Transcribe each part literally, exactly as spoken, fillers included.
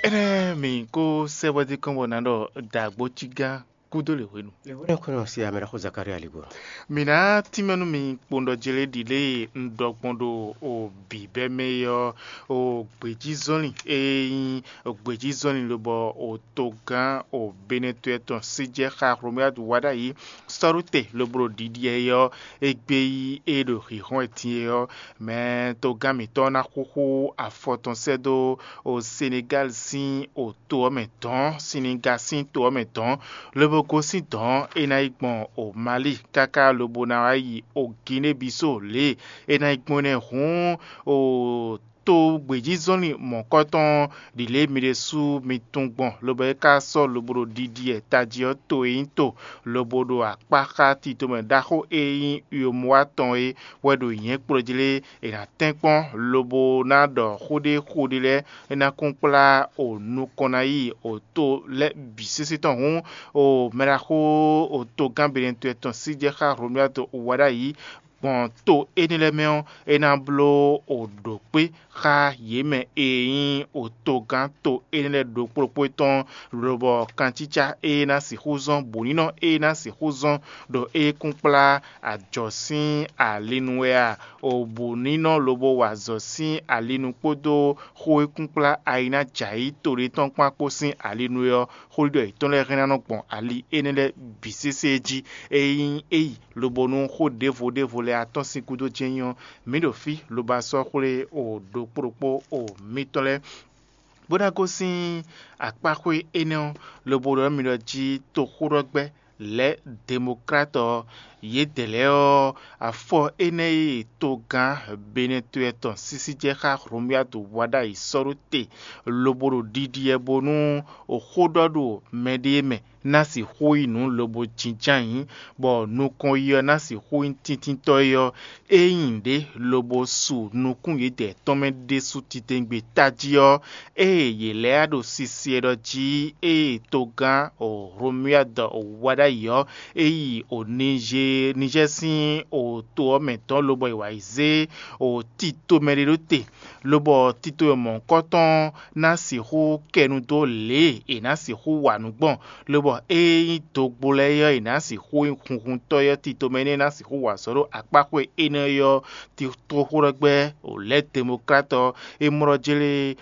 Énɛ́ mǐ kó sɛ́ bɔ dí kɔn bɔ nǎ ɖɔ dǎgbó cígán kúdó lě hwenu. Lě hwenu kɔnɔ si amɛ ɖaxó Zakaria ligbɔ. Mǐ ná tínmɛ nú mi kpowun ɖɔ jlé ɖi lě e un ɖɔ gbɔn ɖo o bǐbɛ́ mɛ é ɔ́, o gbějízɔ́nlin e nyí gbějízɔ́nlin lobɔ o togán o Benɛtɔ́ tɔn sí jɛ xá Hlomyadu wá ɖ'ayǐ sɔ́ɖóte lobo ɖo ɖiɖi ɛ ɔ́, égbé yí é ɖo hǐnhɔ́n wɛ din é ɔ́, mɛ togán mǐtɔn ná xúxú afɔ tɔn sɛ́ dó o Senegáli sín o to ɔ́ mɛ dɔ̌n, Siniga sín to ɔ́ mɛ dɔ̌n, lobo gosín dɔ̌n é ná yi gbɔn o Mali káká lobo ná wá yi o Ginée Bisó lě e é ná yi gbɔn énɛ́ hǔn o to gbějízɔ́nlin mɔ̌kɔtɔn ɖi lě e mi ɖésú mi tunwun gbɔn, lobo é ka sɔ́ lobo ɖo ɖiɖi ɛ tají ɔ́ to e nyí to, lobo ɖo akpá xá titomɛ ɖaxó e nyí Uyomuwa tɔn é wɛ ɖo nyɛ̌kplɔ́ jlé è nǎ tɛ́nkpɔ́n lobo ná ɖɔ xó ɖé xó ɖé lɛ́ɛ é ná kún kplá o nukɔn ná yi o to lɛ́ɛ bǐ sésé tɔn hǔn, o mɛɖaxó o togán Benɛtɔ́ tɔn sí jɛ xá Hlomyadu wá ɖ'ayǐ gbɔn to énɛ́ lɛ́ɛ mɛ ɔ́, é ná bló o ɖǒkpé xá yě mɛ e nyí o togán to énɛ́ lɛ́ɛ ɖokpó ɖokpó tɔn, lobɔ kancícá e ná sixú zɔ́n bǔnínɔ e ná sixú zɔ́n ɖo é kún kplá ajɔ̌ sín ali nu wɛ a? O bǔnínɔ lobo wa azɔ̌ sín ali nu kpódó xó e kún kplá ayi ná jɛ ayǐ to ɖé tɔn kpán kpó sín ali nu é ɔ́, xóɖiɖɔ yětɔn lɛ́ɛ hɛn ná nɔ gbɔn ali énɛ́ lɛ́ɛ bǐ sésé jí. Ényí é yi lobo nú xó ɖěvo ɖěvo lɛ́ɛ atɔ́n sín gúdo jɛ́n nyí ɔ́, mǐ ɖo fí lobo a sɔ́ xwlé o ɖokpó ɖokpó o mitɔn lɛ́ɛ, bó ná gosín akpáxwé énɛ́ ɔ́, lobo ɖɔ nú mi ɖɔ jí toxóɖɔgbɛ́ lɛ́ Demokláti ɔ́, yědɛɛ lɛ́ɛ ɔ́, afɔ énɛ́ e togán Benɛtɔ́ tɔn sísí jɛ xá Hlomyadu wá ɖ'ayǐ sɔ́ ɖó te, lobo ɖo ɖiɖi wɛ bónú xó ɖɔ ɖo mɛɖée mɛ ná sixú yi nǔ lobo jínjɔ́n ayǐ, bɔ nukɔn yi ɔ́ ná sixú nyí tíntínntɔ́ é ɔ́, é nyí nǔɖé lobo su nukún yědɛɛ tɔn mɛ ɖésú titewungbe tají ɔ́, ée yě lɛ́ ɖo sisi e ɖɔ jí ée togán Hlomyadu wá ɖ'ayǐ ɔ́, é yi Nizɛ́ɛ sín to ɔ́ mɛ tɔn lobɔ è wǎ yi zé tito mɛ ɖé ɖó te, lobɔ tito e mɔ̌hunkɔtɔn ná sixú kɛ nu dó lě e è nǎ sixú wa nǔ gbɔn, lobɔ ée nyí dogbo lɛ́ɛ é ɔ́, è nǎ sixú nyí hunhuntɔ́ é ɔ́, tito mɛ énɛ́ ná sixú wa azɔ̌ ɖo akpáxwé énɛ́ é ɔ́, toxóɖɔgbɛ́ lɛ̌ Demokláti ɔ́, é mlɔ́ jlé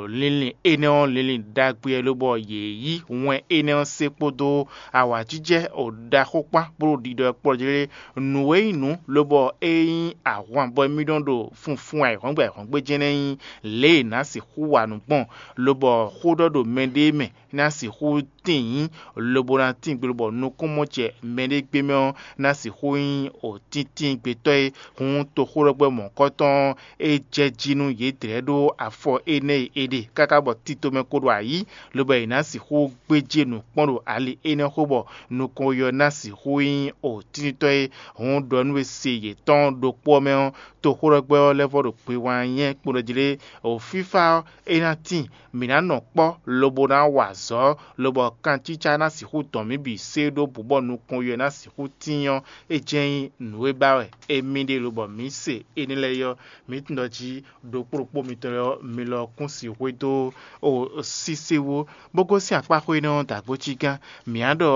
linlin énɛ́ ɔ́ linlin ɖagbe wɛ lobɔ yě yí wɛn énɛ́ ɔ́ se kpódó awǎjijɛ ɖaxó kpán bó ɖo ɖiɖɔ kpɔ́ jlé nǔ e nyí nǔ, lobɔ é nyí ahwan bɔ émí nɔ ɖo funfun ayǐhɔ́ngbe ayǐhɔ́ngbe jɛ́n nɛ́ nyí lě e è nǎ sixú wa nǔ gbɔn, lobɔ xó ɖɔ ɖo mɛɖée mɛ ná sixú tíin nyí, lobo ná tíin gbe lobɔ nukúnmɔjɛ mɛɖée gbé mɛ ɔ́ ná sixú nyí o tíntín gbetɔ́ e. Hǔn toxóɖɔgbɛ́ mɔ̌hunkɔtɔn ɔ́, é jɛ jí nú yědɛɛ ɖó afɔ énɛ́ e è ɖe káká bɔ tito mɛ ko ɖo ayǐ, lobɔ è nǎ sixú gbéjé nǔ kpɔ́n ɖo ali énɛ́ xó bɔ nukɔn yi ɔ́ ná sixú nyí o tíntɔ́ e. Hǔn ɖɔ nú we se yětɔn ɖokpó ɔ́ mɛ ɔ́, toxóɖɔgbɛ́ ɔ́ lɛ́ vɔ ɖo gbe wán nyɛ kpo ɖɔ jí lé, o fífá ɔ́, é ná tíin, mǐ ná nɔ kpɔ́ lobo ná wa azɔ̌, lobɔ kancícá ná sixú dɔn mǐ bǐ sé ɖó bǔ bɔ nukɔn yi ɔ́ ná sixú tíin ɔ́, é jɛ́n nyí nǔ e ba wɛ émí ɖe lobɔ mǐ se énɛ́ lɛ́ɛ é ɔ́, mǐ tunwun ɖɔ jí ɖokpó ɖokpó mitɔn lɛ́ɛ ɔ́, mi lɔ kún sixú dó o sísé wú, bó gosín akpáxwé énɛ́ ɔ́ dǎgbó cí gán. Mǐ á ɖɔ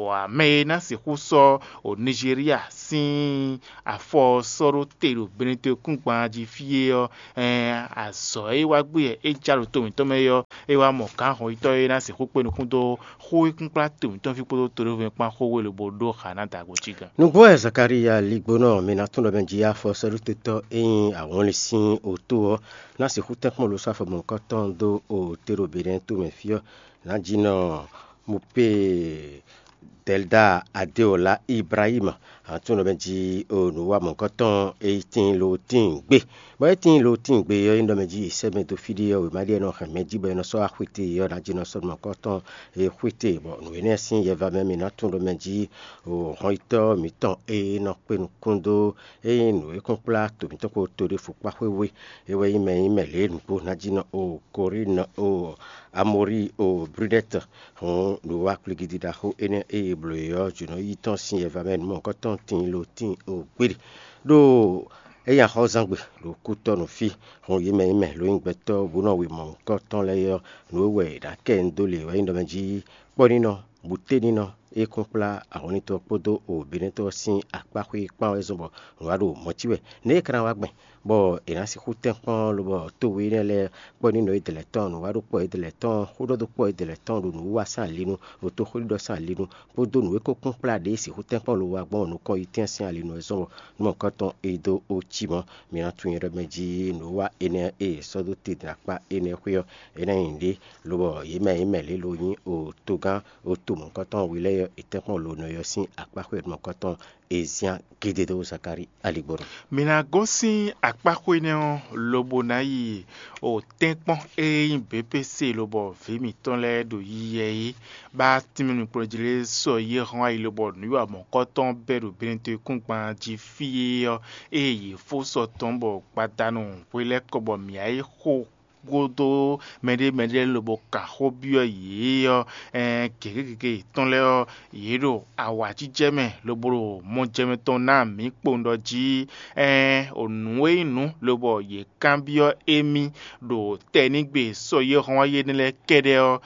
wǎ mɛ e ná sixú sɔ́ o Nizeriya sín afɔ ɔ́ sɔ́ ɖó te ɖo Benetɔn kúngban jí fí é ɔ́, ɛɛn azɔ̌ e wá gbé wɛ é já ɖo to mǐtɔn mɛ é ɔ́, é wá mɔ gǎn hɔnyitɔ́ e ná sixú kpé nukún dó xó e kún kplá to mǐtɔn fí kpódó toɖévɔ́ kpán xó we lobo ɖó xa ná dǎgbó cí gán. Nǔgbó wɛ Zakalíya ligbónɔ mǐ ná tún ɖɔ mɛ jí afɔ sɔ́ɖótetɔ́ e nyí awɔnlin sín otó ɔ́ ná sixú tɛ́nkpɔ́n ɖo sáfɔ mɔ̌hunkɔtɔn dó o te ɖo Benɛ́ tomɛ fí ɔ́, nǎjínɔ Mupée Dɛlda Adéɔla Ibrahima, a tún ɖɔ mɛ jí o nǔwa mɔ̌hunkɔtɔn e tíin lo tíin gbé. Bɔ é tíin lo tíin gbé ɔ́, é nɔ mɛ jí è sɛ́ mɛ dó fí ɖé ɔ́, wěma ɖé ɔ́ nɔ hɛn mɛ jí bɔ é nɔ sɔ́ axwete ɔ́ ná jí nɔ sɔ́ mɔ̌hunkɔtɔn e xwete, bɔ nǔ énɛ́ sín yɛva mɛ mǐ ná tún ɖɔ mɛ jí o hɔnyitɔ́ mǐtɔn e nɔ kpé nukún dó ényí nǔ e kún kplá to mǐtɔn kpó to ɖěvo kpá xwé we. É wɛ nyí mɛ e nyí mɛ lě nǔgbó ná jí nɔ o Korín o Amori o Brunɛ́t. Hǔn nǔ wa kplígídí ɖaxó énɛ́ e è blǒ é ɔ́, jǒnɔ yítɔn sín yɛva mɛ nǔ mɔ̌hunkɔtɔn tíin lo tíin o gbéɖe. Ɖó É nyi axɔ́zán gbe ɖo kútɔ́ nǔ fí, hun yě mɛ e mɛ lǒ nyí gbɛtɔ́ bó nɔ wimɔ̌ kɔ́ tɔn lɛ́ɛ é ɔ́, nǔ e wɛ è nǎ kɛ nyi dó lě wɛ nyí ɖɔ mɛ jí kpɔ́ nínɔ, bǔténínɔ, e kún kplá ahɔnlíntɔ́ kpódó òběnɛ́tɔ́ sín akpáxwé kpán wɛ zɔ́n bɔ nǔ wá ɖo mɔ̌ cí wɛ. Nɛ̌ é ka ná wá gbɛn, bɔ è nǎ sixú tɛ́nkpɔ́n lobɔ tówe énɛ́ lɛ́ɛ kpɔ́ nínɔ e dɛ lɛ́ɛ tɔn, nǔ wá ɖo kpɔ́ e dɛ lɛ́ɛ tɔn, xó ɖɔ dó kpɔ́ e dɛ lɛ́ɛ tɔn ɖo nǔwiwa sín alinu, ɖo tóxwéɖiɖɔ sín alinu, kpódó nǔ e ko kún kplá ɖě sixú tɛ́nkpɔ́n lo wá gbɔn nukɔn yi tɛ́nsin alinu wɛ zɔ́n bɔ nú mɔ̌hunkɔtɔn e dó ó cí mɔ̌. Mi ná tunwun nyɛ ɖɔ mɛ jí nǔwiwa énɛ́ e è sɔ́ dó te din akpá énɛ́ xwé ɔ́, é ná nyí nǔɖé, lobɔ yě mɛ e mɛ lě lo nyí o togán o to mɔ̌hunkɔtɔn we lɛ́ɛ ɔ́, è tɛ́nkpɔ́n lo nɔ ɔ́ sín akpá xwé mɔ̌hunkɔtɔn e zián gédé dó Zakalíi aligbɔnɔ. Mi ná gosín akpáxwé énɛ́ ɔ́, lobo ná yi o tɛ́nkpɔ́n e nyí B P C lobɔ vǐ mǐtɔn lɛ́ɛ ɖo yiyɛ é, bá tínmɛ nukplɔ́njí lɛ́ɛ sɔ́ yí hɔn ayi lobɔ nǔwiwa mɔ̌kɔ́tɔn bɛ́ ɖo Benɛtɔ́-kúngban jí fí é ɔ́, ée yě fó sɔ tɔn bɔ gbadanu hwelɛ́kɔ bɔ mǐ wá yi xo gúdo mɛɖé mɛɖé lobɔ ka xó byɔ́ yě ɔ́, gěgé gěgé yětɔn lɛ́ɛ ɔ́, yě ɖo awǎjijɛ mɛ lobo ɖo mɔjɛmɛ tɔn ná mǐ kpowun ɖɔ jí, nǔ e nyí nǔ lobɔ yě kanbyɔ́ émí ɖo tɛnígbe sɔ́ yé hɔn wá yé nɛ́ lɛ́ɛ kɛ́ɖɛ́ ɔ́,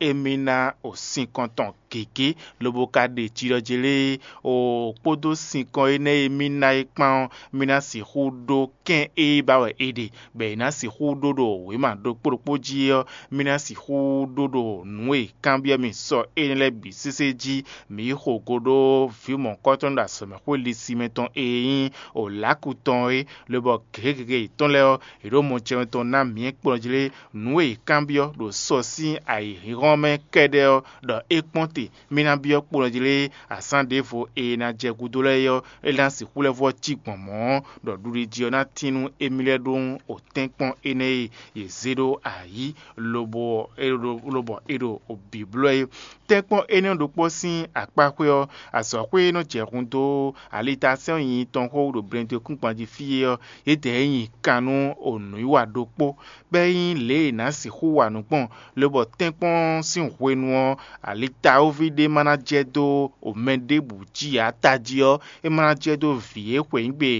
émí ná o sinkɔn tɔn gěgé, lobo ka ɖe jilɔjɛ lé, o kpódó sinkɔn énɛ́ e mì ná é kpán ɔ́, mì ná sixú ɖó kɛ́n e ba wɛ è ɖe, bɔ è nǎ sixú ɖó ɖo wěma ɖokpó ɖokpó jí ɔ́, mì ná sixú ɖó ɖo nǔ e kanbyɔ́ mì sɔ énɛ́ lɛ́ɛ bǐ sésé jí, mǐ yi xo go ɖó vǐ mɔ̌hunkɔtɔn ɖo azɔ̌mɛxwé lisimɛ tɔn e nyí Olǎku tɔn é, lobɔ gěgé gěgé yětɔn lɛ́ɛ ɔ́, è ɖǒ mɔ jɛmɛ tɔn ná mǐ kplɔ́n jí lé, nǔ e è kanbyɔ́ ɖo sɔ sín ayǐhínhɔ́n mɛ kɛ́ɖɛ́ ɔ́, ɖɔ é kpɔ́n te, mì ná byɔ́ kpowun jí lé, azǎn ɖěvo e ná jɛ gúdo lɛ́ɛ é ɔ́, é ná sixú lɛ́ vɔ́ cí gbɔn mɔ̌, ɖɔ ɖuɖi jí ɔ́ ná tín nú émí lɛ́ɛ ɖó o tɛ́nkpɔ́n énɛ́ e yě zé ɖó ayǐ, lobo lobɔ é ɖo bǐblɔ́ é. Tɛ́nkpɔ́n énɛ́ ɖokpó sín akpáxwé ɔ́, azɔ̌xwé e nɔ jɛ hun dó alitasɛ́n nyinyi tɔn xó ɖo blɛndekúngban jí fí é ɔ́, yědɛɛ nyi kan nú o nǔwiwa ɖokpó, bɔ é nyí lě e è nǎ sixú wa nǔ gbɔn, lobɔ tɛ́nkpɔ́n sín hwenu ɔ́, alitawóví ɖé ma ná jɛ dó mɛ ɖěbǔ jí ǎ tají ɔ́, é ma ná jɛ dó vǐ e xweyǐgbe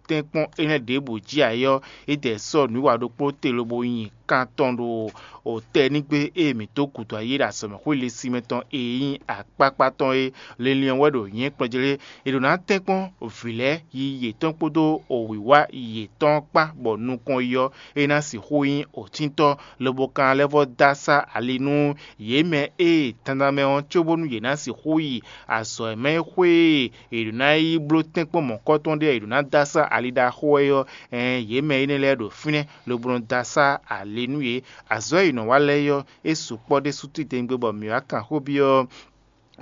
tɛ́nkpɔ́n énɛ́ ɖěbǔ jí ǎ é ɔ́, é dɛ sɔ́ nǔwiwa ɖokpó te lobo nyi kan tɔn ɖo tɛnígbe e mǐ dó gǔdo ayé ɖo azɔ̌mɛxwé lisimɛ tɔn e nyí akpákpá tɔn é. Linlin ɔ́ wɛ ɖo nyɛ̌kplɔ́n jí lé. È ɖǒ ná tɛ́nkpɔ́n vǐ lɛ́ɛ yi yětɔn kpódó wǐwá yětɔn kpá bɔ nukɔn yi ɔ́, é ná sixú nyí òtíntɔ́, lobo ka ná lɛ́ vɔ́ dó asá ali nú yě mɛ e dandan mɛ ɔ́, cóbónú yě ná sixú yi azɔ̌ mɛ xwé e è ɖǒ ná yi bló tɛ́nkpɔ́n mɔ̌kɔ́tɔn ɖé ɔ́, è ɖǒ ná dó asá ali ɖaxó wɛ ɔ́, ɛɛn yě mɛ énɛ́ lɛ́ɛ ɖo fínɛ́ lobo nɔ dó asá ali nú yě. Azɔ̌ e è nɔ wa lɛ́ɛ ɔ́, é sukpɔ́ ɖésú titewungbe bɔ mǐ wá kan xó byɔ́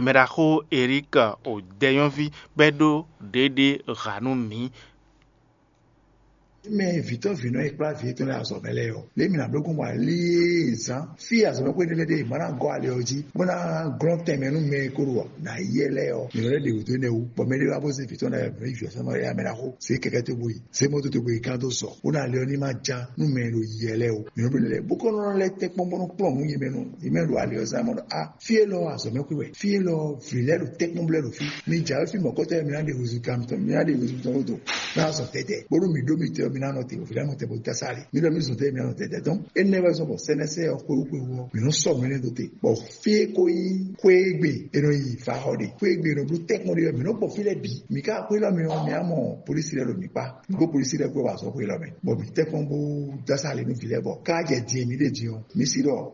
mɛɖaxó Erík o dɛnyɔ́ví bɔ é ɖó ɖěɖé ha nú mǐ. Mɛ vǐtɔ́ vǐnɔ e kplá vǐ yětɔn lɛ́ɛ azɔ̌ mɛ lɛ́ɛ ɔ́, lě mi nǎ bló gbɔn bɔ alíe zán fí azɔ̌ mɛ xwé ɖé lɛ́ɛ ɖe ma ná gɔ́ ali ɔ́ jí, bó ná glɔ́n tɛnmɛ nú mɛ e ko ɖo nǎ yɛ lɛ́ɛ ɔ́, mǐ nɔ lɛ́ ɖe wǔ dó énɛ́ wú, bɔ mɛɖé wá bó zé vǐtɔ́ lɛ́ɛ mǐ yí vǐ ɔ́ sɛ́ mɔ éyá mɛ ná xo, zě kɛkɛ́ tó bó yi, zě mɔto tó bó yi gán dó sɔ, bó ná ali ɔ́ ní ma ján nú mɛ e ɖo yiyɛ lɛ́ɛ ó. Mǐ nɔ bló lɛ́ɛ bó kɔ́ nɔ lɛ́ tɛ́nkpɔ́n bó nɔ kplɔ́n nǔ nyi mɛ nɔ, yě mɛ ɖo ali ɔ́ zán mɔ ɖɔ a fí élɔ́ azɔ̌ mɛ xwé wɛ, fí élɔ́ vǐ lɛ́ɛ ɖo tɛ́nkpɔ́n blɛ́ ɖo fí. Mi jǎwe fí mɔ̌kɔtɔn mi ná ɖe húzú kan tɔn, mi ná ɖe húzú tɔn ɖo dó. Ná zɔ tɛtɛ, bónú mi ɖó mitɔn mi ná nɔ te, vǐ lɛ́ɛ nɔ te bó dá sá lé. Mi ɖɔ mi zɔn tɛ mi ná nɔ tɛtɛ tɔn. Énɛ́ wɛ zɔn bɔ sɛnɛsɛ ɔ́ xwé xwé wɔ, mi nɔ sɔ mi nɛ dó te. Bɔ fí e ko nyí xwé e gbe e nɔ yi fa xɔ ɖe, xwé e gbe e nɔ bló tɛ́nkpɔ́n ɖe ɔ́, mi nɔ gbɔ fí lɛ́ɛ bǐ. Mi ka xwé lɔ mi ɔ́, mi á mɔ polísi lɛ́ɛ ɖo mi kpá. Mi kó polísi lɛ́ɛ kó wá zɔ xwé lɔ mɛ. Bɔ mi tɛ́nkpɔ́n bó dá sá lé nú vǐ lɛ́ɛ bɔ ká jɛ din e mi ɖe din ɔ́, mi sí ɖɔ